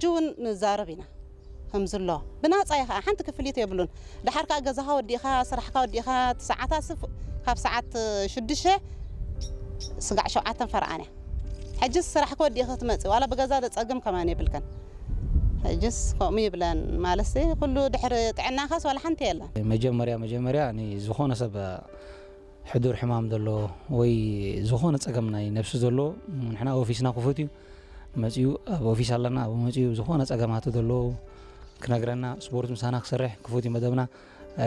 ሕጂ እውን ንዛረብ ኢና። ከምዝሎ ብናጻ እዩ ከዓ ሓንቲ ክፍሊት የብሉን። ድሓር ከዓ ገዛኻ ወዲእኻ፣ ስራሕካ ወዲእካ፣ እቲ ሰዓታት ስፍ-፣ ካብ ሰዓት ሽዱሽተ ስጋዕ ሸውዓተን ፈርቓን እያ። ሕጅስ ስራሕካ ወዲእካ ክትመጽእ ዋላ ብገዛ ደጸግም ከማን የብልከን። ሕጅስ ከምኡ ይብለን ማለት ኩሉ ድሕሪ ጥዕናኻስ ዋላ ሓንቲ የለን። መጀመርያ መጀመርያ ንዝኾነ ሰብ ሕዱር ሕማም ዘሎ ወይ ዝኾነ ጸገም ናይ ነብሲ ዘሎ ንሕና ኦፊስና ክፉት እዩ። መጺኡ ኣብ ኦፊስ ኣለና፣ ኣብ መጺኡ ዝኾነ ጸገማቱ ዘሎ ክነግረና፣ ስፖርት ምሳና ክሰርሕ ክፉት እዩ መደብና። እ፣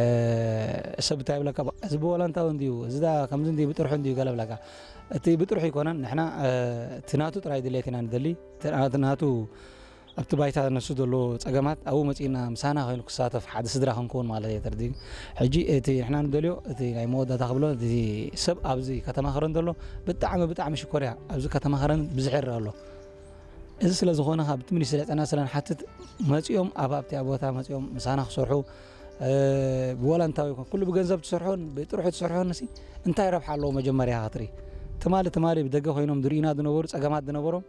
ሰብ እንታይ ይብለካ፣ "እዚ ብወላንታዊ እንድዩ፣ እዚ ዳ ከምዚ እንድዩ፣ ብጥርሑ እንድዩ" ገለ ብለካ። እቲ ብጥርሑ ኣይኮነን፣ ንሕና፣ እ፣ እቲ ናቱ ጥራይ ድሌት ኢና ንደሊ። እቲ ናቱ ኣብቲ ባይታ ነሱ ዘሎ ጸገማት ኣብኡ መጺእና ምሳና ኮይኑ ክሳተፍ ሓደ ስድራ ክንከውን ማለት እየ ተርዲግ። ሕጂ እቲ ንሕና ንደልዮ እቲ ናይ መወዳእታ ክብሎ እቲ ሰብ ኣብዚ ከተማ ከረን ዘሎ ብጣዕሚ ብጣዕሚ ሽኮር እያ። ኣብዚ ከተማ ከረን ብዝሕ ይረአ ኣሎ። እዚ ስለ ዝኾነ ካብ እቲ ሚኒስትሪ ጥዕና ስለ ንሓትት መጺኦም ኣብ ኣብቲ ቦታ መጺኦም ምሳና ክሰርሑ፣ እ፣ ብወላንታዊ ይኹን ኩሉ ብገንዘብ ትሰርሖን ብጥርሑ ትሰርሖን ሲ እንታይ ረብሓ ኣለዎ? መጀመርያ ክትርኢ ትማሊ ትማሊ ብደገ ኮይኖም ዝርእዩና ዝነበሩ ጸገማት ዝነበሮም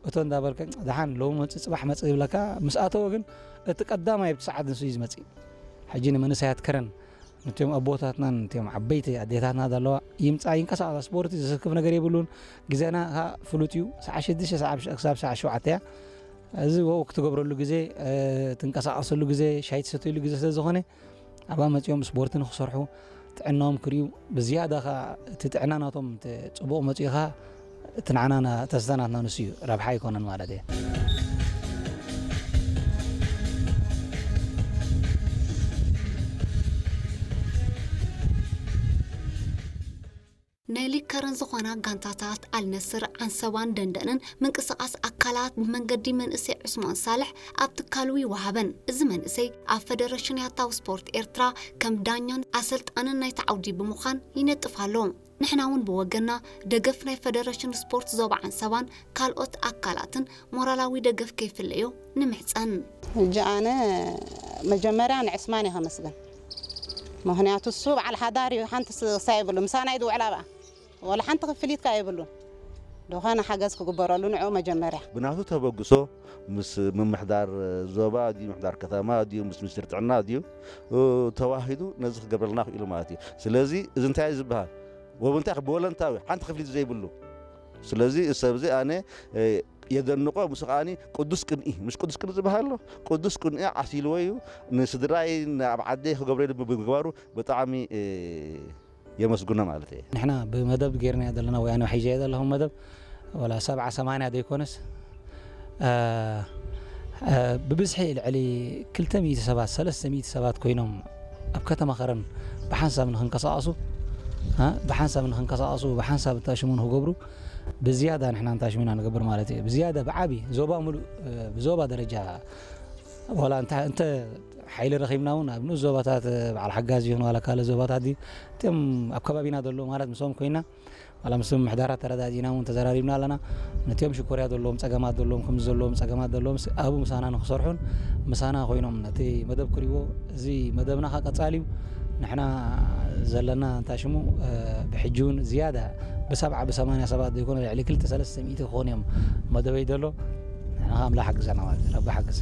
እቶ እንዳበልከ ደሓን ሎሚ መጽእ ጽባሕ መጽእ ይብለካ። ምስ ኣተወ ግን እቲ ቀዳማይ ኣብቲ ሰዓት ንሱ እዩ ዝመጽእ። ሕጂ ንመንእሰያት ከረን ነቲኦም ኣቦታትናን ነቲኦም ዓበይቲ ኣዴታትና ዘለዋ ይምጻ ይንቀሳቐሳ። ስፖርቲ ዘሰክፍ ነገር የብሉን። ግዜና ከኣ ፍሉጥ እዩ። ሰዓት ሽዱሽተ ሰዓት ክሳብ ሰዓት ሸውዓተ እያ። እዚ ወክ ትገብረሉ ግዜ፣ እ፣ ትንቀሳቐሰሉ ግዜ፣ ሻይ ትሰትየሉ ግዜ ስለ ዝኾነ ኣብኣ መጺኦም ስፖርቲ ንክሰርሑ ጥዕናኦም ክርእዩ ብዝያዳ ከኣ እቲ ጥዕና ናቶም ተ-፣ ጽቡቕ መጺኡ ከኣ እቲ ንዓና ና-፣ ተስተ ናትና ንሱ እዩ፣ ረብሓ ኣይኮነን ማለት እየ። ናይ ሊግ ከረን ዝኾና ጋንታታት ኣልነስር፣ ዓንሰባን ደንደንን ምንቅስቓስ ኣካላት ብመንገዲ መንእሰይ ዑስማን ሳልሕ ኣብ ትካሉ ይወሃበን። እዚ መንእሰይ ኣብ ፈደረሽን ያታዊ ስፖርት ኤርትራ ከም ዳኛን ኣሰልጣንን ናይቲ ዓውዲ ብምዃን ይነጥፍ ኣሎ። ንሕና እውን ብወገንና ደገፍ ናይ ፈደረሽን ስፖርት ዞባ ዓንሰባን ካልኦት ኣካላትን ሞራላዊ ደገፍ ከይፍለዮ ንምሕጸን። ሕጂ ኣነ መጀመርያ ንዕስማን እየ ከመስግን። ምኽንያቱ እሱ በዓል ሓዳር እዩ፣ ሓንቲ ስ-፣ ክሳይ የብሉ፣ ምሳና እዩ ዝውዕል ኣብኣ። ወላ ሓንቲ ክፍሊት ከኣ የብሉን። ዝኾነ ሓገዝ ክግበረሉ ንዕኡ መጀመርያ። ብናቱ ተበግሶ ምስ ምምሕዳር ዞባ ድዩ፣ ምምሕዳር ከተማ ድዩ፣ ምስ ሚኒስትሪ ጥዕና ድዩ፣ እ፣ ተዋሂዱ ነዚ ክገብረልና ክኢሉ ማለት እዩ። ስለዚ እዚ እንታይ እዩ ዝበሃል? ወብንታይ ብወለንታዊ ሓንቲ ክፍሊት ዘይብሉ። ስለዚ እዚ ሰብ እዚ ኣነ፣ እ፣ የደንቆ፣ ምስ ከኣኒ ቅዱስ ቅንኢ፣ ምስ ቅዱስ ቅንኢ ዝበሃል ኣሎ፣ ቅዱስ ቅንኢ ዓሲልዎ እዩ። ንስድራይ፣ ኣብ ዓደይ ክገብረሉ ብምግባሩ ብጣዕሚ፣ እ፣ የመስግኖ ማለት እየ። ንሕና ብመደብ ጌርናዮ ዘለና ወይ ኣነ ሒዘዮ ዘለኹ መደብ ዋላ ሰብዓ ሰማንያ ዘይኮነስ፣ እ፣ እ፣ ብብዝሒ ልዕሊ ክልተ ሚእቲ ሰባት፣ ሰለስተ ሚእቲ ሰባት ኮይኖም ኣብ ከተማ ከረን ብሓንሳብ ንኽንቀሳቐሱ፣ እ፣ ብሓንሳብ ንኽንቀሳቐሱ፣ ብሓንሳብ እንታሽሙ ንኽገብሩ ብዝያዳ ንሕና እንታሽሙ ኢና ንገብር ማለት እዩ። ብዝያዳ ብዓቢ ዞባ ሙሉእ፣ እ፣ ብዞባ ደረጃ ዋላ እንተ፣ እንተ ሓይሊ ረኺብና እውን ኣብ ንኡስ ዞባታት በዓል ሓጋዝ ይኹን ዋላ ካልእ ዞባታት ድዩ፣ እቶም ኣብ ከባቢና ዘለዉ ማለት ምስኦም ኮይና ዋላ ምስ ምምሕዳራት ተረዳዲእና እውን ተዘራሪብና ኣለና። ነቲኦም ሽኮርያ ዘለዎም ጸገማት ዘለዎም፣ ከምዚ ዘለዎም ጸገማት ዘለዎም ስ-፣ ኣብኡ ምሳና ንክሰርሑን ምሳና ኮይኖም ነቲ መደብ ክርእይዎ፣ እዚ መደብና ከኣ ቀጻሊ እዩ። ንሕና ዘለና እንታይ ሽሙ፣ እ፣ ብሕጂ እውን ዝያዳ ብሰብዓ ብሰማንያ ሰባት ዘይኮነ ልዕሊ ክልተ ሰለስተ ሚእቲ ክኾኑ እዮም መደበይ ዘሎ። ንሕና ከኣ ኣምላኽ ሓግዘና ማለት እዩ። ረቢ ሓግዝ።